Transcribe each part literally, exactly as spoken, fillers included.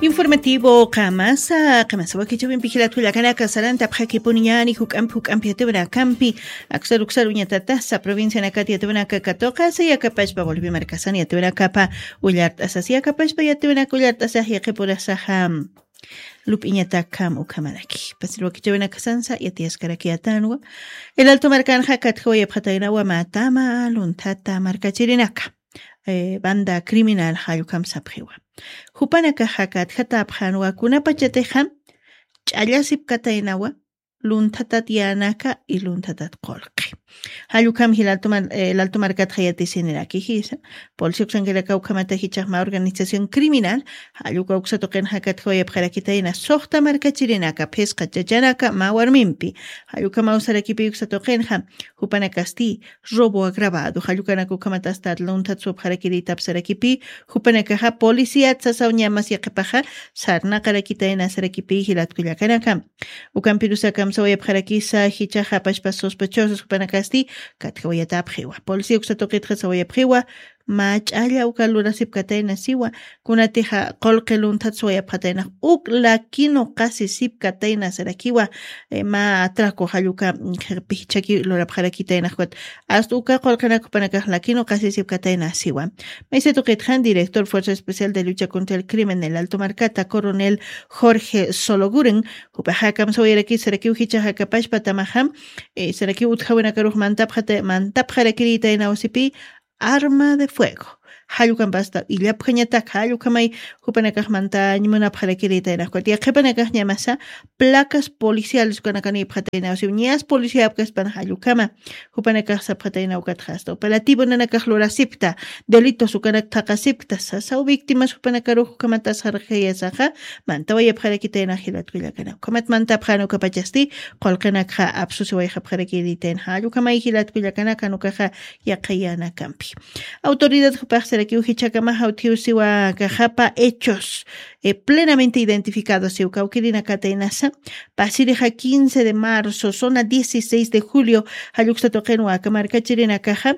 Informativo qamasa qamasa wakichawimpi jilatkullakanaka sarantapxakipuniñani juk'ampi juk'ampi yatiwanakampi. Aksar uksar uñatatasa provincianakati yatiwanaka katuqasa yakapashpa bolivia markasani yatiwanakapa ullart'asas yakapashpa yatiwanaka ullart'asaq yaqipurasaqa. Lup'iñatakam ukhamaraki pasir wakichawinakasansa yatiyaskaraki yatanwa. El alto markanxa katjawayapxataynawa matama lunthata markachirinaka banda criminal jallukam sapxiwa. Jupanakaxa katjatapxanwa kunapachatixam ch'allasipkataynawa lunthatat yänaka y lunthatat qulqi. Jallukam jilatuman laltumarkatxa yatisiniraki jisa. Polisi uksankiraka ukhamata jichaxma organización criminal jalluka uksa tuqinxa katjawayapxarakitayna suxta markachirinaka phisqa chachanaka mä warmimpi. Jallukamaw sarakipi uksa tuqinxa jupanakasti robo agravado jallukanaka ukhamat astat lunthat supxarakirïtap sarakipi. Jupanakaxa policíat sasaw ñamas yaqipaxa sarnaqarakitayna sarakipi jilatkullakanaka. Ukampirusakam sawayapxarakisa jichaxa pashpa sospechosos jupanakasti katjawayatapxiwa policía uksa tuqitxa sawayapxiwa. Mä ch'alla uka lurasipkatayna siwa kunatixa qulqi lunthat suwayapxataynax uk lakinu qasi sipkatayna sarakiwa. Mä atraco jalluka pijchaki lurapxarakitaynaxwat asta uka qulqinakhupanakax lakinu qasi sipkatayna siwa. Maysa tuqitxan director fuerza especial de lucha contra el crimen el alto markata coronel jorge sologuren jupaxakam sawayarakis sarakiw jichaxakapashpatamaxam sarakiw utjawinakarux mantapxarakirïtayna wasipi arma de fuego. Jallukampasta illapjañatak jallukamay jupanakaxmantañ munapxarakirïtaynaxkuti yaqhipanakaxñamasa placas policiales ukanakanïpxataynawasiw ñas policiapkaspan jallukama. Jupanakax sapxataynaw katxasta operativo nanakax lurasipkta delitos ukanak thaqasipkta sasaw victimas jupanakarux ukamatasarjayasaxa. Mantawayapxarakitaynax jilatkullakana ukhamat mantapxan ukapachasti qulqinakxa apsusiwayxapxarakirïtayna jallukhamay jilatkullakanakan ukaxa yaqayanakampi. Autoridad jupaxsarakiw jichhakamaxa utjiw siwa kaxapa hechos plenamente identificado siw kawkirinakataynasa. Pasirixa quince de marzo zona dieciséis de julio jalluksa tuqinwa aka markachirinakaxa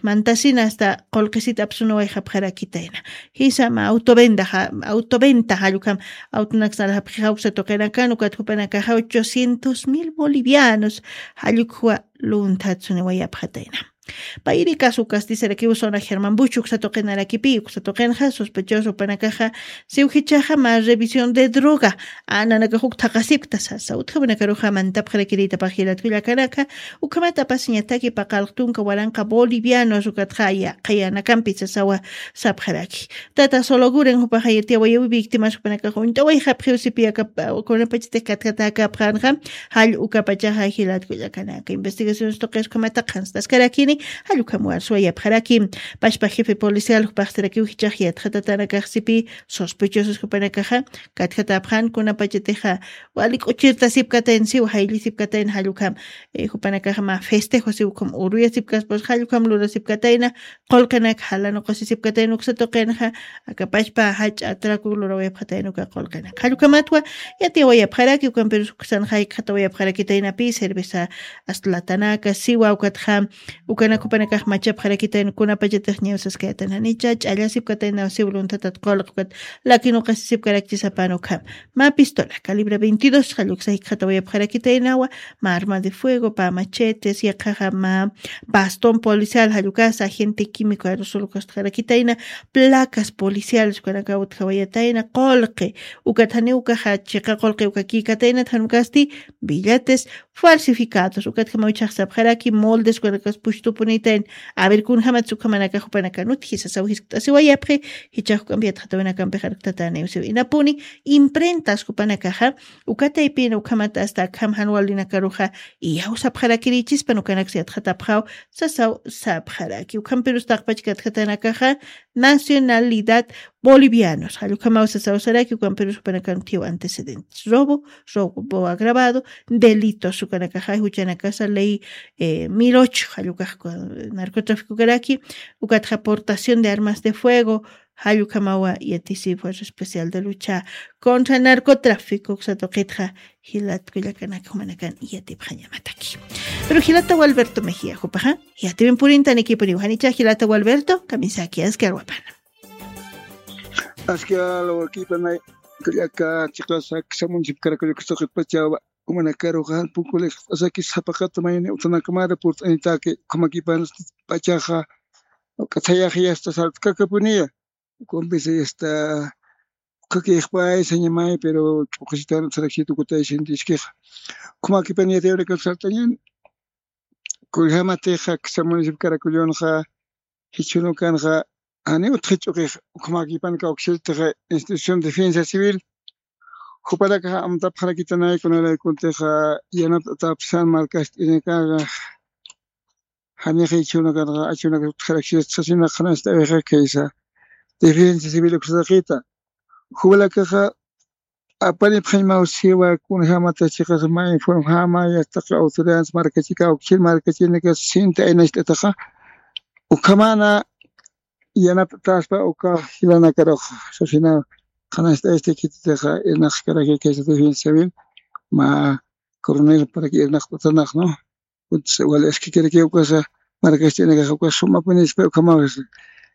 mantasina asta qulqisit apsunuwayxapxarakitayna. Jisama autovenda autoventa jallukam autonaksanxapxi jawksa tuqinakan ukat jupanakaxa ochocientos mil bolivianos jallukxwa lunthatsuniwayapxatayna. Payri kasukasti sarakiw zona germán buchuk satuqinarakipi uksa tuqinxa sospechoso panakaxa siw jichaxa mä revisión de droga nanakax uk thaqasipkta sasa utjawanakaruxa mantapxarakirïtapax jilatkullakanaka. Ukhamat apasiñataki paqalq tunka waranqa bolivianos ukatxa yaqayanakampi sasawa sapxaraki. Tata sologuren jupaxa yatiyawayawi victimas jupanakax uñt'awayxapxiw sipi aka kunapachatix katkatäkäpxänxa. Jall ukapachaxa jilatkullakanaka investigaciones tuqiskumataq janstaskarakini. Jall ukham warsuwayapxaraki. Pashpa jefe policial jupaxsarakiw jichax yatxatatanakax sipi sospechosos jupanakaxa katkatäpxän kunapachatixa wali k'uchirtasipkatayna siw jayllisipkatayna jall ukham jupanakaxa mä festejo siw ukham uruyasipkaspas jall ukham lurasipkatayna. Qulqinak jalanuqasisipkatayna uksa tuqinxa akapashpa jach'a atraco lurawayapxatayna uka qulqinak jall ukhamatwa yatiyawayapxaraki ukampirus uksanxa jikxatawayapxarakitaynapi cerveza asta latanaka siwa ukatxa ukanak jupanakax machapxarakitayna kunapachatix ñawsaskayatan janicha ch'allasipkataynaw siw lunthatat qulqi ukat lakinuqasisipkarakchisapan ukham. Mä pistola calibre veintidós jall uksa jikxatawayapxarakitaynawa. Mä arma de fuego pä machetes yaqhaxa mä bastón policial jall ukasa agente químico aerosol ukastxarakitayna. Placas policiales ukanakaw utjawayatayna qulqi ukat janiw ukaxa chiqa qulqi uka kïkataynat jan ukasti billetes falsificados ukatjamaw ichhax sapxaraki moldes ukanakas pushtupunitayn. A ver kunjamat sukhamanakax jupanakan utji sasaw jiskt'asiwayapxi. Jichhax juk'ampi yatxatawinakampix arktataniw siw inapuni imprentas jupanakaxa ukataypina ukhamat asta akham jan walinakaruxa iyaw sapxarakirïchispan ukanaksa yatxatapxaw. Sasaw sapxaraki ukhampirus taqpach katjatanakaxa nacionalidad bolivianos jall ukhamaw sasaw saraki ukampirus jupanakan utjiw antecedentes robo robo agravado delitos ukanakaxa juchanakasa ley mil ocho jall ukax narcotráfico ukaraki. Ukatxa portación de armas de fuego jall ukhamawa yatisi fuerza especial de lucha contra narcotráfico uksa tuqitxa. Jilatkullakanaka jumanakan yatipxañamataki. Pero jilata walberto mejía jupaxa yatiwin purintanikipuniw janicha jilata walberto kamisaki askarwapana. Aski alwakipanay kallaka chiqasa kisa municipio Caracollo kisa qitpachawa umanakaruxa pukulis asaki sapaqata mayni utanakamara purt'anitaki ukamakipan pachaxa k'athayaxi asta sartkakapuniya. Kumpisa asta ukakixpay sañamay pero ch'uqisitan saraksit ukatay sintiskixa. Ukamakipan yatayurakan sartañan. Kuyjamatixa kisa municipio Caracollonxa jichhünukanxa janiw utjich'uqix ukhamakipanka uksiltixa institución defensa civil jupanakaxa amtapxarakitanay kunaraykuntixa yanapt'atapsan markast'inakaxa. Janixa jichhünukanxa achhünakas utjaraksista sasina qhanast'awixa khaysa defensa civil uksataqita jupanakaxa apanipxañmaw siwa kunjämata chiqas mä informjama yastaqi autoridades markachika ukchil markachinikas sinti aynacht'ataxa ukhamana yanapt'aspa uka jilanakarux sasina qhanast'aysti khititixa irnaqskaraki khaysa defensa civil mä coronel paraki irnaqt'atanaxnu. Wali askikiraki ukasa markast'inakaxa ukas sumapunispa ukhamaxa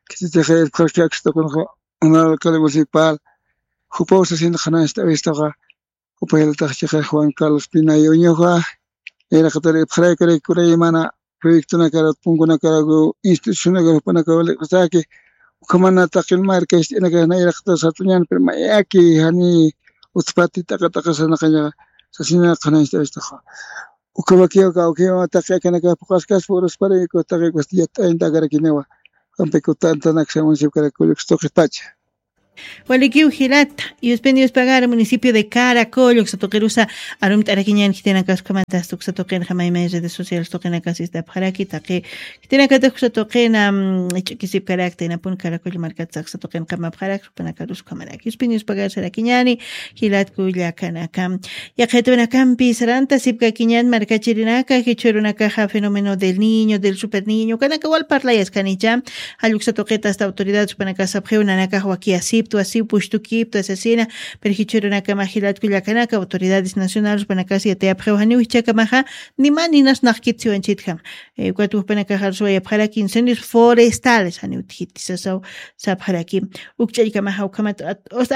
khititixa irpxarki aksatakunxa honorable alcalde municipal jupaw sasin qhanast'awistaxa. Jupa jilatax chiqa Juan Carlos Pinayo uñuxa nayraqatar irpxaraykuraki kuray mana proyectonakarat punkunakaraku institucionakar jupanakaw liq'isaki ukhamana taqin markast'inakax nayraqatar satuñan pero mayaki jani utpati t'aqat'aqasanaqañaxa sasina qhanast'awistaxa. Ukamakiw kawkiw taqi akanakax puqaskaspa urusparayku taqi ukasti yat'aynta akarakiniwa. Kampiku tantanaksa municipio Caracollo uksa tuqipacha. Walikiw jilata yuspin yuspagara municipio de Caracollo uksa tuqirusa arumt'arakiñan khitinakas ukhamatasta uksa tuqinxa maymay redes sociales tuqinakas ist'apxaraki taqi khitinakatix uksa tuqina ch'ukisipkarakta inapun Caracollo markatsa uksa tuqin qamapxarak. Panakarus ukhamaraki yuspin yuspagara sarakiñani. Jilatku llakanaka yaqhitwinakampi sarantasipkakiñan markachirinaka jichhürunakaxa fenómeno del niño del super niño ukanaka wal parlayaskanicha. Jalluksa tuqita asta autoridades upanakasapxiw nanakax wakiyasiptwa siw pushtukiptwa sasina. Pero jichhürunakama jilatku llakanaka autoridades nacionales upanakasa yatayapxiw janiw jichhakamaxa ni mä ninas naqkit siwanchitjam. Ukat wajpanakaxa arswayapxaraki incendios forestales janiw utjiti sasaw sapxaraki. Ukch'allkamaxa ukhamat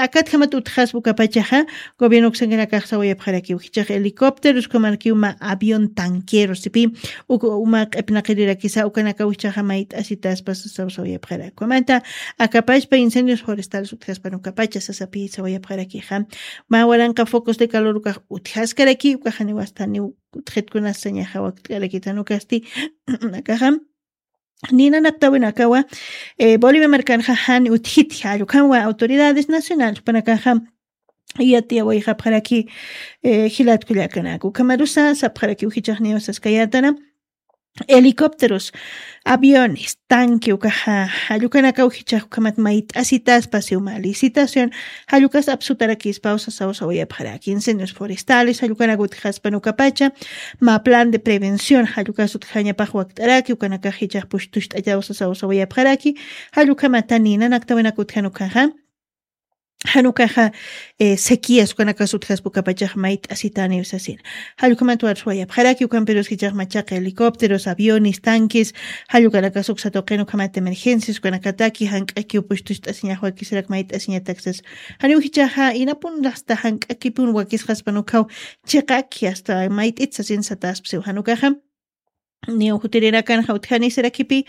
akatjamat utjaspa ukapachaxa gobierno uksankanakax sawayapxarakiw jichhax helicópteros ukhamarkiw mä avión tanquero sipi. Uk uma q'ipnaqirirakisa ukanakaw jichhaxa mayt'asitaspa sasaw sawayapxaraki ukhamata akapachpa incendios forestales utjaspan ukapacha sasapi sawayapxarakixa. Mä waranqa focos de calor ukax utjaskaraki ukaxaniw asta niw utjitkunas sañaxa wakt'karakita nukasti akaxam. Ninanaqtawinakawa bolivia markanxa jan utjiti jallukhamwa autoridades nacionales panakaxa yatiyawayxapxaraki. Jilatkullakanaka ukhamarusa sapxarakiw jichaxniw saskayatana helicópteros aviones tanque ukaxa jallukanakaw jichax ukhamat mayt'asitaspa siwma licitación. Jallukas apsutarakispaw sasaw sawayapxaraki incendios forestales jallukanak utjaspan ukapacha mä plan de prevención jallukas utjañapax wakt'araki ukanakax jichax pushtucht'achaw sasaw sawayapxaraki. Jallukhamata ninanaktawinaka utjan ukaxa jan ukaxa sequías ukanakas utjaspa ukapachax mayt'asitaniw sasina. Jallukhamat warsuwayapxaraki ukampirus jichax machaqa helicópteros aviones tanques jallukanakas uksa tuqin ukhamat emergencias ukanakataki jank'akiw pushtucht'asiñax wakisirak mayt'asiñatak sasa. Janiw jichaxa inapun asta jank'akipun wakisqaspan ukhaw chiqaki asta mayt'it sasin sataspsiw jan ukaxa niw jutirinakanxa utjanisirakipi.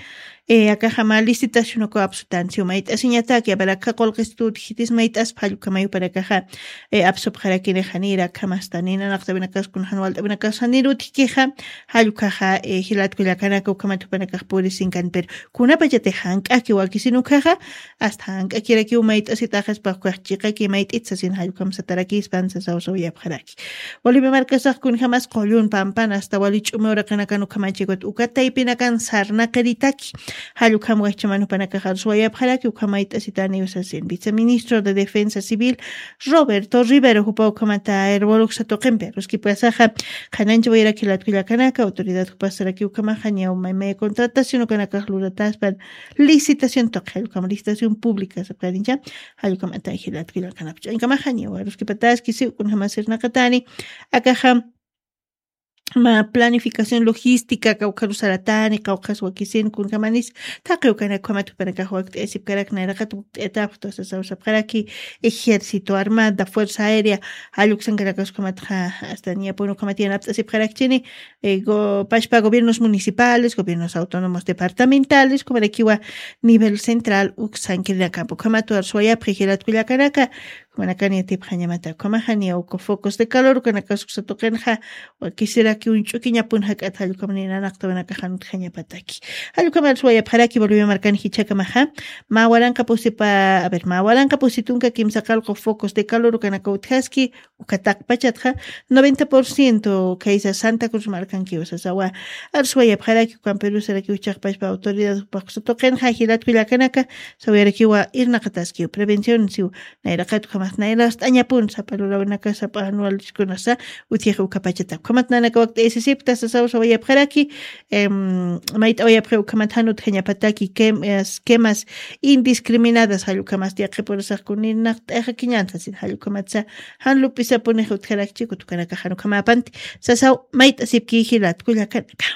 Akaxa mä licitación ukaw apsutansiw mayt'asiñataki abarakxa qulqistut jitis mayt'aspa jallukamayu panakaxa apsupxarakinixanira akhamasta ninanaqtawinakas kunxan walt'awinakas janir utjkixa. Jallukhaxa jilatkullakanaka ukhamat jupanakax purisinkan pero kunapachatix jank'aki wakisin ukhaxa asta jank'akirakiw mayt'asitaxaspa ukax chiqaki mayt'it sasin jallukhamsatarakispan sasaw sawayapxaraki. Bolivia markasax kunjamas qullun pampan asta wali ch'umi uraqinakan ukhamachikut uka taypinakan sarnaqiritaki. Jallukhamwa jichhaman jupanakax arsuwayapxaraki ukhamayt'asitaniw sasin viceministro de defensa civil roberto rivero jupa ukhamata aeroboloksa tuqimpi aruskipasaxa qhananchawayaraki latkullakanaka autoridad jupasaraki ukhamaxa ñaw maymaya contratación ukanakax lurataspan licitación tuqi jallukama licitación pública sapxarincha. Jallukama atayji latkullakanaka ch'ankamaxa ñaw aruskipataski siw kunjama sirnaqatani. Akaxa ma planificación logística kawkharusaratani kawkhas wakisin kunkamanis. Taqi ukanak ukhamat jupanakax wakt'ayasipkarak nayraqat wakt'ayatapxta sasawsapxaraki ejército armada fuerza aérea. Jalluksankarakasukhamatxa asta niyapun ukhamat yanapt'asipxarakchini. Pashpa gobiernos municipales gobiernos autónomos departamentales kumarakiwa nivel central uksankirinakapa ukhamatu arsuwayapxi jilatkullakanaka. Kumanakani atipxañamata ukhamaxaniya uku focos de calor ukanakasuksatuqinxa. Wakisiraki uñch'ukiñapun jak'at jallukamaninanaqtawanakaxanutxañapataki. Jallukamariswayapxaraki bolivia markani jichhakamaxa. Mä waranqa pusipa a ver mä waranqa pusitunka kimsa qalqu focos de calor ukanaka utjaski. Uka taqpachatxa noventa por ciento khaysa santa cruz markankiwa sasawa. Arswayapxaraki ukampirusarakixchaqpachpa autoridad jupaxsatuqinxa jilatkullakanaka. Sawayarakiwa irnaqataskiw prevención siw. Nayraqat ukhamat nayrast'añapun sapa lurawinaka sapa anualkunasa. Utjixa ukapachata ukhamat nanaka wakt'aysisipta sasaw sawayapxaraki. Mayt'awayapxi ukhamat jan utjañapataki quemas indiscriminadas jallukhamasti yaqhipurasaqkuninaq t'ayxakiñantasin jallukhamatsa. Jan lup'isapunix utjarakchikut ukanakaxan ukhamapanti. Sasaw mayt'asipki jilatkullakanaka.